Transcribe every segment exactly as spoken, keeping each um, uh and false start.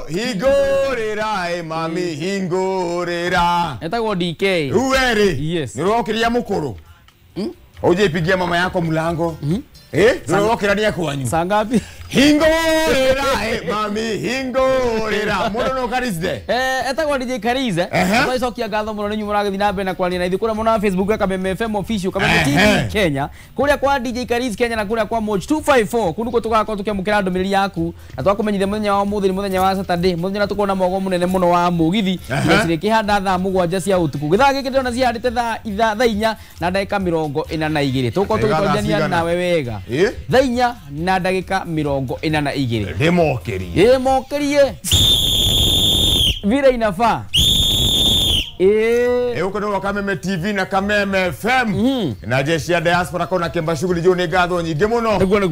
Hingũrĩra ĩ mami hingũrĩra. Etagwo D K. Uweri. Yes. Nĩũrokĩria mũkũrũ. Uje mama yako mlango. Eh? Nĩũrokĩrania kwanyu. Saa ngapi? Hingũrĩra ĩ mami hingũrĩra. Mũndũ no Karizde. Eh, etagwo D J Karize. Twacokia ngatho mũno nĩ inyuĩ mũragĩthiĩ na mbere na kwaria na ithuĩ kũrĩa mwena wa Facebook ya Kameme F M Official, Kameme T V Kenya, kũrĩa kwa D J Karize Kenya na kũrĩa kwa Moj two five four. Kũu nĩkuo tũgakorwo tũkĩamũkĩra ndũmĩrĩri yaku na twakũmenyithia mũthenya wa ũmũthĩ nĩ mũthenya wa Saturday, mũthenya ũrĩa tũkorwo na mwogo mũnene mũno wa mũgithi na cirĩkĩhanda thaa mũgwanja cia ũtukũ. Gĩthaa gĩkĩ ndĩrona cihandĩte thaa itha thaa inya na ndagĩka mĩrongo ĩna na igĩrĩ. Tũgũkorwo tũgĩtwarithania nawe wega. Thaa inya na ndagĩka mĩrongo ĩna na igĩrĩ. Ndĩmokĩrie. Ndĩmokĩrie. Vile inafaa. Eh. Huko ndo Kameme T V na Kameme F M. Na jeshi ya diaspora kona kemba shughuli jo ni ngatho nyingi muno.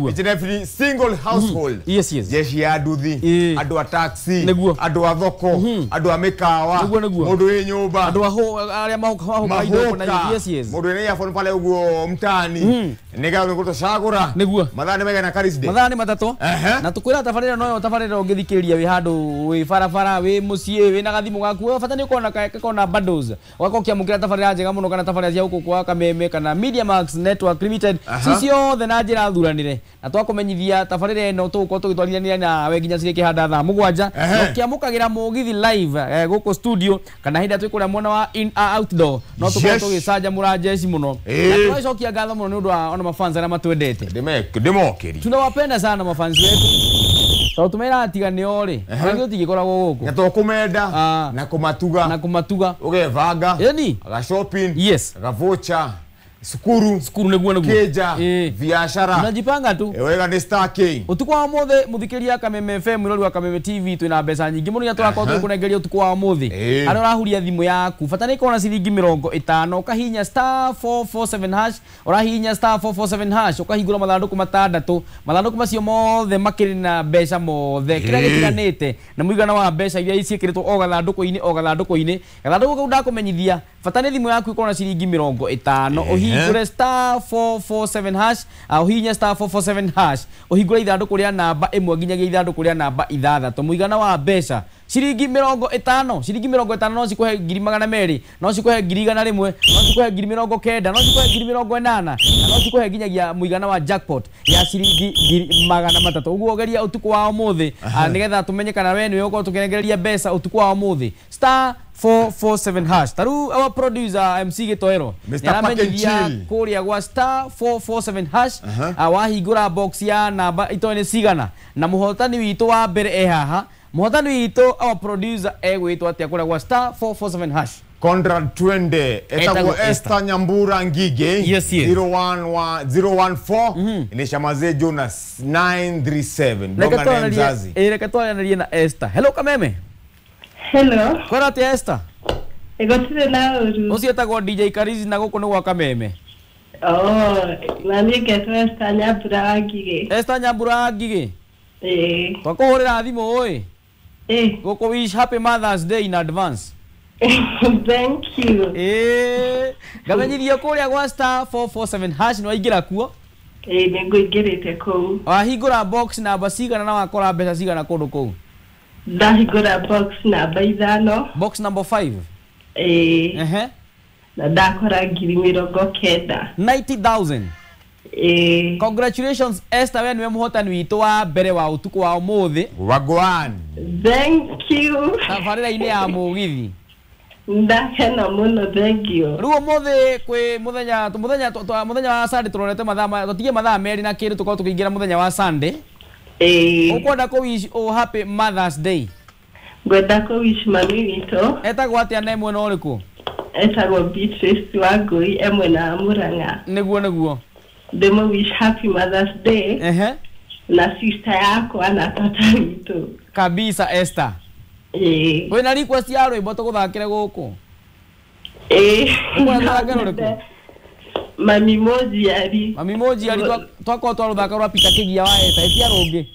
Each and every single household. Yes, yes. Jeshi ya nduthi, andu a taxi, andu a thoko, andu a mikawa, mundu wi nyumba, andu a aria mahuka indo na yes, yes. Mundu wi earphone pale uguo mtaani. Ni ngatho gutocagura. Niguo. Mathaa ni maigana Karis Day? Mathaa ni matatu. Na tukwira tabarĩra no tabarĩra ũngĩthikĩrĩria wi handu wi barabara wi muciĩ wi na gathimu gaku bata ni ukona kona bundles wako kiamukira tabarĩra njega mũno kana tabarĩra cia gũkũ kwa Kameme kana Media Max Network Limited ci ciothe na njĩra thuranĩre na twakũmenyithia tabarĩra ĩno tũgũkorwo tũgĩtwarithania nawe nginya cirĩkĩhanda thaa mũgwanja ũkĩamũkagĩra mũgithi live gũkũ studio kana hĩndĩ ĩrĩa twĩ kũrĩa mwena wa in outdoor no tũkorwo tũgĩcanjamũra jeshi mũno na tũgacokia ngatho mũno nĩ ũndũ wa ona mafans arĩa matwendete. Ndĩmokĩrie. Tunawapenda sana mafans wetu tondũ tumera tiga nĩo rĩ ona ithuĩ tũtingĩkoragwo gũkũ na tũkũmenda na kũmatuga na kũmatuga ũgebanga yani aga shopping, yes, aga voucher, sukuru sukuru nĩguo nĩguo keja biashara unajipanga tu wega ni Star King. Utuku wa ũmũthĩ mũthikĩria Kameme F M mwĩrori wa Kameme T V twĩna mbeca nyingĩ mũno iria tũrakorwo tũgĩkũnengeria ũtukũ wa ũmũthĩ. Harĩa ũrahuria thimũ yaku bata nĩ ĩkorwo na ciringi mĩrongo ĩtano ũkahihinya star four four seven hash ũrahihinya star four four seven hash ũkahingũra mathandũkũ matandatũ mathandũkũ macio mothe makĩrĩ na mbeca mothe kĩrĩa gĩtiganĩte na mũigana wa mbeca iria ciĩkĩrĩtwo o gathandũkũ-inĩ o gathandũkũ-inĩ gathandũkũ kau ndakũmenyithia bata nĩ thimũ yaku ĩkorwo na ciringi mĩrongo ĩtano ũhingũre star four four seven hash ũhihinye star four four seven hash ũhingũre ithandũkũ rĩa namba ĩmwe nginyagia ithandũkũ rĩa namba ithathatũ mũigana wa mbeca ciringi mĩrongo ĩtano ciringi mĩrongo ĩtano no cikũhe ngiri magana merĩ no cikũhe ngiri igana rĩmwe no cikũhe ngiri mĩrongo kenda no cikũhe ngiri mĩrongo ĩnana na no cikũhe nginyagia mũigana wa jackpot ya ciringi ngiri magana matatũ. Ũguo geria ũtukũ wa ũmũthĩ nĩgetha tũmenye kana we nĩwe ũkorwo tũkĩnengereria mbeca ũtukũ wa ũmũthĩ star four four seven hash. Taru our producer M C Gitoero nĩaramenyithia kũrĩa gwa star four four seven hash wahingũra box ya namba itoĩ nĩ cigana na mũhotani witũ wa mbere e haha. Mũhotani witũ our producer egwĩtwo atĩa kũrĩa gwa star four four seven hash? Conrad Twende etagwo Esther Nyambura Ngige. Yes, yes. zero one one zero one four inishamaze Jonas nine three seven. Bonga na mzazi. Eh, reke twaranĩrie na Esther. Hello Kameme. Hello. Kwĩra atĩa Esther? Gũtirĩ na ũru. Ũcio etagwo D J Karizi na gũkũ nĩ gwa Kameme. Oh, na niĩ ngetwo Esther Nyambura wa Ngigĩ. Esther Nyambura wa Ngigĩ. Ĩĩ. Twakũhũrĩra thimũ ĩ. Ĩĩ. Gũkũ wish happy Mother's Day in advance. Thank you. Ĩĩ. Ngamenyithio kũrĩa gwa star four four seven hash nĩ waingĩra kuo? Ĩĩ, nĩ ngũingĩrĩte kũu. Wahingũra box namba cigana na wakora mbeca cigana kũndũ kũu? Ndahingũra box namba ithano. Box number five. Ĩĩ. Ehe. Na ndakora ngiri mĩrongo kenda. ninety thousand. Ĩĩ. Congratulations Esther, we nĩwe mũhotani witũ wa mbere wa ũtukũ wa ũmũthĩ. Wagwan. Thank you. Tabarĩra-inĩ ya mũgithi. Ndakena mũno, thank you. Rĩu ũmũthĩ kwĩ mũthenya mũthenya mũthenya wa Sunday tũronete mathaa tũtige mathaa merĩ na kĩndũ tũkorwo tũkĩingĩra mũthenya wa Sunday. Ĩĩ. Ũkwenda kũ wish o happy Mother's Day? Ngwenda kũ wish mami witũ. Etagwo atĩa na e mwena ũrĩkũ? Etagwo Beatrice Wangũi e mwena wa Murang'a. Nĩguo nĩguo. Ndĩmũ wish happy Mother's Day. Ehe. Na sister yakwa na tata witũ. Kabisa Esther. Ĩĩ. Wĩna request ya rwĩmbo tũgũthakĩre gũkũ? Ĩĩ. Ũkwenda tũthake rũrĩkũ? Mami Mojiari. Mami Mojiari twakorwo twarũthaka rwa Peter Kĩgia wa Esther, ĩtia rũngĩ.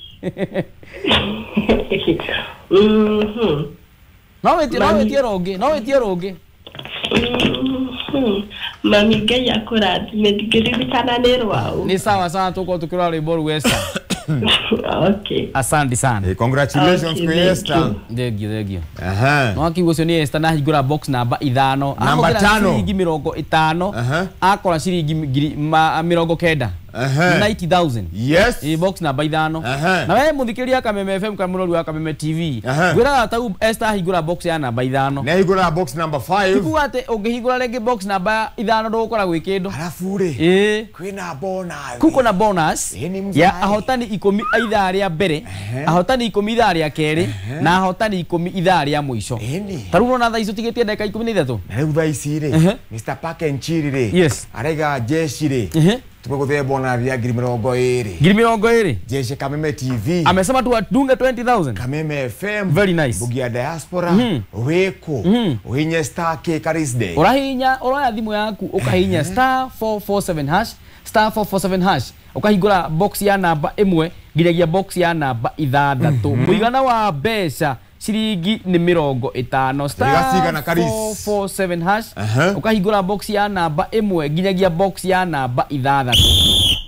Mhm. No wĩtie no wĩtie rũngĩ, no wĩtie rũngĩ. Mhm. Mami Ngai akũrathime, ndingĩririkana nĩ rwaũ. Nĩ sawa sawa tũkorwo tũkĩrora rwĩmbo rũu Esther. Okay. Asante sana. Eh, congratulations Okay, kwa thank Esther. you. Thank you, thank you. Aha. No akiuga ũcio nĩ Esther na hingũra box namba ithano. Namba Ahũthĩra tano. ciringi mĩrongo ĩtano. Aha. Akora ciringi ngiri ma- mĩrongo kenda. Aha. ninety thousand. Yes. Ĩ box namba ithano. Aha. Na we mũthikĩrĩria Kameme F M kana mũrori wa Kameme T V. Aha. Ngwĩraga ta rĩu Esther ahingũra box ya namba ithano. Nĩ ahingũra box number five. Tikuga atĩ ũngĩhingũra rĩngĩ box namba ithano ndũgũkora gwĩ kĩndũ. Alafu rĩ Ĩ. kwĩna bonus. Kuko na bonus Ĩ, nĩ mzai. ya ahotani ikũmi a ithaa rĩa mbere, ahotani ikũmi ithaa rĩa kerĩ na ahotani ikũmi ithaa rĩa mũico. Ĩni. Ta rĩu ũrona thaa ici ũtigĩtie ndagĩka ikũmi na ithatũ. Na rĩu thaa ici rĩ Ehe. Mister Park and Chill rĩ Yes. araiga jeshi rĩ Ehe. tumegũthee bonus ya ngiri mĩrongo ĩrĩ. Ngiri mĩrongo ĩrĩ. Jeshi Kameme T V. Amesema tu adunge twenty thousand. Kameme F M. Very nice. Mbugia diaspora. Wĩkũ. Ũhinye star K Karis Day. Ũrahihinya ũroya thimũ yaku ũkahihinya star four four seven hash star four four seven hash ũkahingũra box ya namba ĩmwe nginyagia box ya namba ithathatũ. Mũigana wa mbeca ciringi nĩ mĩrongo ĩtano. Star Cigana Karis. four four seven hash Aha. ũkahingũra box ya namba ĩmwe nginyagia box ya namba ithathatũ.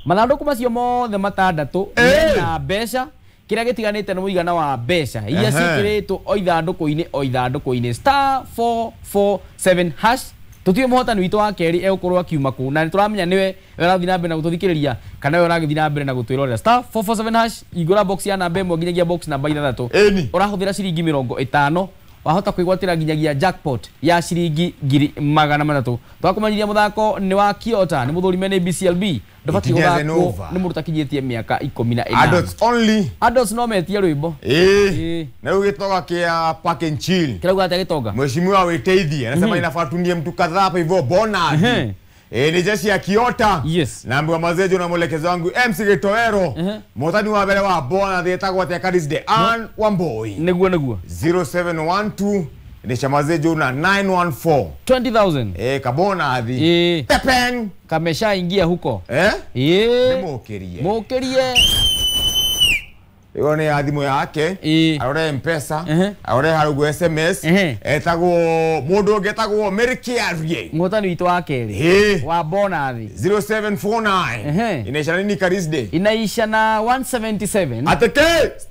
Mathandũkũ macio mothe matandatũ mena mbeca kĩrĩa gĩtiganĩte nĩ mũigana wa mbeca iria Ehe. ciĩkĩrĩtwo o ithandũkũ-inĩ o ithandũkũ-inĩ star four four seven hash. Tũtiũĩ mũhotani witũ wa kerĩ egũkorwo akiuma kũ na nĩtũramenya nĩwe ũrathiĩ na mbere na gũtũthikĩrĩria kana we ũragĩthiĩ na mbere na gũtwĩrorera. Star four four seven hash hingũra box ya namba ĩmwe nginyagia box namba ithathatũ. Ĩni. Ũrahũthĩra ciringi mĩrongo ĩtano wahota kwĩgwatĩra nginyagia jackpot ya ciringi ngiri magana matatũ. Twakũmenyithia mũthako nĩ wa Kiota nĩ mũthũrime nĩ B C L B ndũbatiĩ Ikinya gũthakwo Zenova. nĩ mũndũ ũtakinyĩtie mĩaka ikũmi na ĩnana. Adults only. Adults no metie rwĩmbo. Ĩĩ. Ĩĩ. Na rĩu gĩtoga kĩa Park and Chill. Kĩrauga atĩa gĩtonga? Mheshimiwa wĩteithie anasema inafaa tunie mtu kadhaa hapa hivyo bonus. Ehe. Eh, ni jeshi ya Kiota. Yes. Naambiwa mazejo na mwelekezo wangu M C Gitoero. Ehe. Mũhotani wa mbere wa bonus etagwo atĩa Karis Day? Ann Wamboi. Nĩguo nĩguo. zero seven one two ni chamazejo na nine one four. twenty thousand. Eh, kabona athi. Ĩĩ. Tepeng. Kameshaingia huko. Eh? Ĩĩ. Nĩmũkĩrie. Mũkĩrie. Ĩyo nĩ ya thimũ yake. Ĩĩ. Arore M-Pesa. Ehe. Arore harugu S M S. Ehe. Etagwo mũndũ ũngĩ etagwo Mary Kiarie. Mũhotani witũ wa kerĩ. Ĩĩ. Wa bonus. zero seven four nine. Ehe. Inaisha nini Karis Day? Inaisha na one seventy seven. Ateke.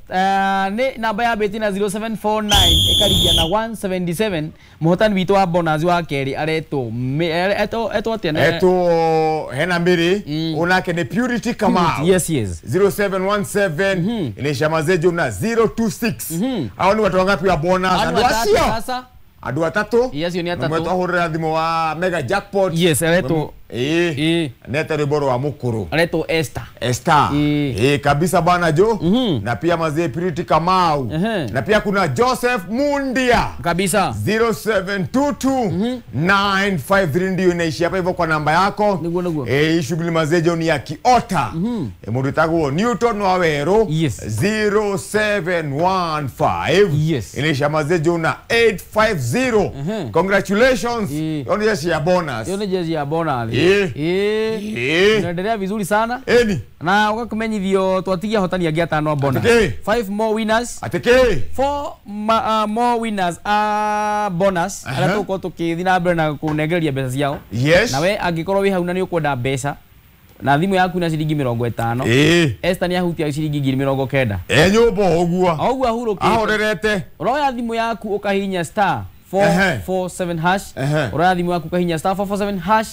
Uh, nĩ namba ya beti na zero seven four nine ĩkarigia na one seventy seven. Mũhotani witũ wa bonus wa kerĩ aretwo etwo etwo atĩa? Etwo hena Mary. Onake nĩ Purity Kamau. Yes, yes. zero seven one seven inaisha mazejo na zero two six. Hao ni watu wangapi wa bonus? Andũ Andũ atatũ acio. sasa. Andũ atatũ. Yes, ni atatũ. Mwe twahũrĩra thimũ wa mega jackpot. Yes, aretwo. Ĩĩ. Ĩĩ. Nete rwĩmbo rwa mũkũrũ. Aretwo Esther. Esther. Ĩĩ. Eh, kabisa bana jo. Na pia mazee Purity Kamau. Ehe. Na pia kuna Joseph Mundia. Kabisa. zero seven two two nine five three ndio inaishi hapa hivyo kwa namba yako. Nĩguo nĩguo. Eh, hii shughuli mazee jo ni ya Kiota. Eh, mũndũ etagwo Newton Waweru. Yes. zero seven one five. Yes. Inaisha mazee jo na eight five zero. Congratulations. Ĩĩ. Hiyo ni jeshi ya bonus. Hiyo ni jeshi ya bonus. Ĩĩ. Ĩĩ. Ĩĩ. Tunaendelea vizuri sana. Ĩni. Na ũgakĩmenyithio twatigia ahotani angĩ atano a bonus. Atĩkĩ? Five more winners. Atĩkĩ? Four ma, uh, more winners a bonus. Aha. Arĩa tũgũkorwo tũkĩthiĩ na mbere na kũnengereria mbeca ciao. Yes. Na we angĩkorwo wĩ hau na nĩ ũkwenda mbeca na thimũ yaku na ciringi mĩrongo ĩtano. Ĩĩ. Esther nĩ ahutia ciringi ngiri mĩrongo kenda. E nyũmba ũguo. O ũguo ahurũkĩte. Ahorerete. Ũroya thimũ yaku ũkahihinya star four Ehe. four seven hash. Ehe. Ũroya thimũ yaku ũkahihinya star four four seven hash.